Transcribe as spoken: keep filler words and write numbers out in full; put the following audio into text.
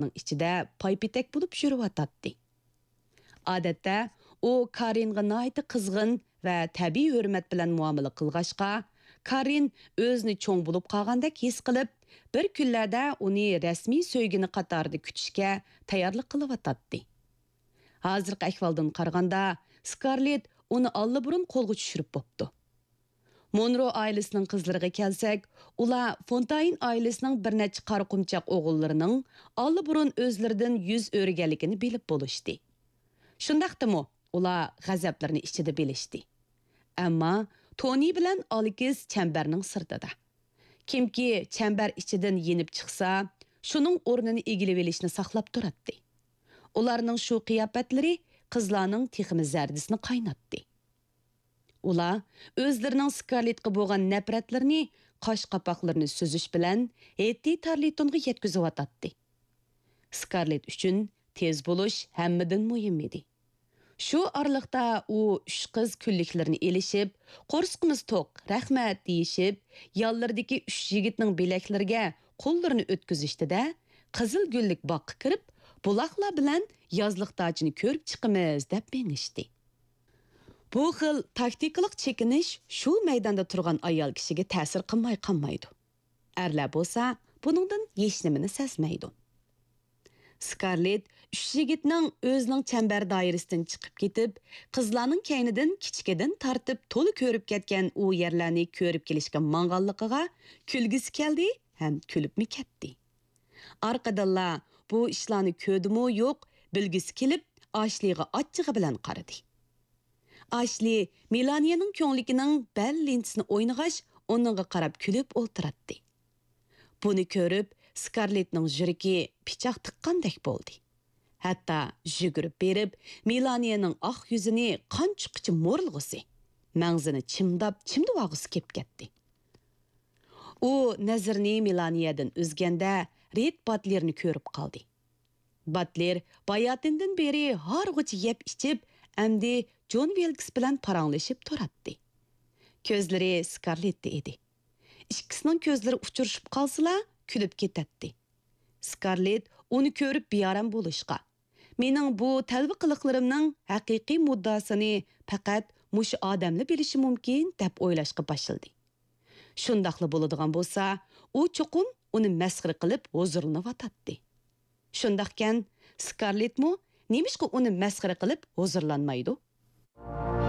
ئىچىدە پايپېتەك بولۇپ يۈرۈۋاتاتتى. ئادەتتە ئۇ كارىنغا ناھايىتى قىزغىن ۋە تەبىئىي ھۆرمەت بىلەن مۇئامىلە قىلغاچقا، كارىن ئۆزىنى چوڭ بولۇپ قالغاندەك ھېس قىلىپ، بىر كۈنلەردە ئۇنى رەسمىي سۆيگىنى قاتارىدا كۈتۈشكە تەييارلىق قىلىۋاتاتتى. ھازىرقى ئەھۋالدىن قارىغاندا، سكارلېت ئۇنى ئاللىبۇرۇن قولغا چۈشۈرۈپ بوپتۇ. مونرو ئائىلىسىنىڭ قىزلىرىغا كەلسەك، ئۇلار فونتاين ئائىلىسىنىڭ بىر نەچچە قارا قۇمچاق ئوغۇللىرىنىڭ ئاللىبۇرۇن ئۆزلىرىدىن يۈز ئۆرۈگەنلىكىنى بىلىپ بولۇشتى. شۇنداقتىمۇ، ئۇلار غەزەپلىرىنى ئىچىدە بىلىشتى. ئەمما تونى بىلەن ئالېكس چەمبەرنىڭ سىرتىدا. كىمكى چەمبەر ئىچىدىن يېنىپ چىقسا، شۇنىڭ ئورنىنى ئىگىلىۋېلىشنى ساقلاپ تۇراتتى. ئۇلارنىڭ شۇ قىياپەتلىرى قىزلارنىڭ تېخىمۇ زەردىسىنى قايناتتى. ئۇلار ئۆزلىرىنىڭ سكارلېتقا بولغان نەپرەتلىرىنى قاش قاپاقلىرىنى سۈزۈش بىلەن ھېتتى تارلىتونغا يەتكۈزۈۋاتاتتى. سكارلېت ئۈچۈن تېز بولۇش ھەممىدىن مۇھىم ئىدى. شۇ ئارىلىقتا ئۇ ئۈچ قىز كۈنلۈكلىرىنى ئېلىشىپ، قورسىقىمىز توق، رەھمەت دېيىشىپ، يانلىرىدىكى ئۈچ يىگىتنىڭ بىلەكلىرىگە قوللىرىنى ئۆتكۈزۈشتىدە، قىزىل گۈللۈك باغقا كىرىپ، بۇلاقلار بىلەن يازلىق داچىنى كۆرۈپ چىقىمىز دەپ مېڭىشتى. بۇ خىل تاكتىكىلىق چېكىنىش شۇ مەيداندا تۇرغان ئايال كىشىگە تەسىر قىلماي قالمايدۇ. ئەرلەر بولسا بۇنىڭدىن ھېچنېمىنى سەزمەيدۇ. سكارلېت ئۈچ يىگىتنىڭ ئۆزىنىڭ چەمبەر دائىرىسىدىن چىقىپ كېتىپ، قىزلارنىڭ كەينىدىن كىچىكىدىن تارتىپ تولا كۆرۈپ كەتكەن ئۇ يەرلەرنى كۆرۈپ كېلىشكە ماڭغانلىقىغا كۈلگۈسى كەلدى ھەم كۈلۈپمۇ كەتتى. ئارقىدىنلا بۇ ئىشلارنى كۆردىمۇ يوق، بىلگۈسى كېلىپ، ئاشلىغا ئاچچىقى بىلەن قارىدى. ئاشلى مېلانىيەنىڭ كۆڭلىكىنىڭ بەل لېنتىسىنى ئوينىغاچ، ئۇنىڭغا قاراپ كۈلۈپ ئولتۇراتتى. بۇنى كۆرۈپ، سكارلېتنىڭ يۈرىكى پىچاق تىققاندەك بولدى. ھەتتا يۈگۈرۈپ بېرىپ، مېلانىيەنىڭ ئاق يۈزىنى قان چىققۇچە مورىلىغۇسى، مەڭزىنى چىمداپ چىمدىۋالغۇسى كېلىپ كەتتى. ئۇ نەزىرىنى مېلانىيەدىن ئۈزگەندە، رېد باتلېرنى كۆرۈپ قالدى. باتلېر باياتىندىن بېرى ھارغۇچە يەپ ئىچىپ، ئەمدى جون ۋىلكس بىلەن پاراڭلىشىپ تۇراتتى. كۆزلىرى سكارلېتتە ئىدى. ئىككىسىنىڭ كۆزلىرى ئۇچرىشىپ قالسىلا، كۈلۈپ كېتەتتى. سكارلېت ئۇنى كۆرۈپ بىئارام بولۇشقا، مېنىڭ بۇ تەلۋە قىلىقلىرىمنىڭ ھەقىقىي مۇددىئاسىنى پەقەت مۇشۇ ئادەملا بىلىشى مۇمكىن، دەپ ئويلاشقا باشلىدى. شۇنداقلا بولىدىغان بولسا، ئۇ چوقۇم ئۇنى مەسخىرە قىلىپ ھۇزۇرلىنىۋاتاتتى. شۇنداقكەن، سكارلېتمۇ نېمىشقا ئۇنى مەسخىرە قىلىپ ھۇزۇرلانمايدۇ؟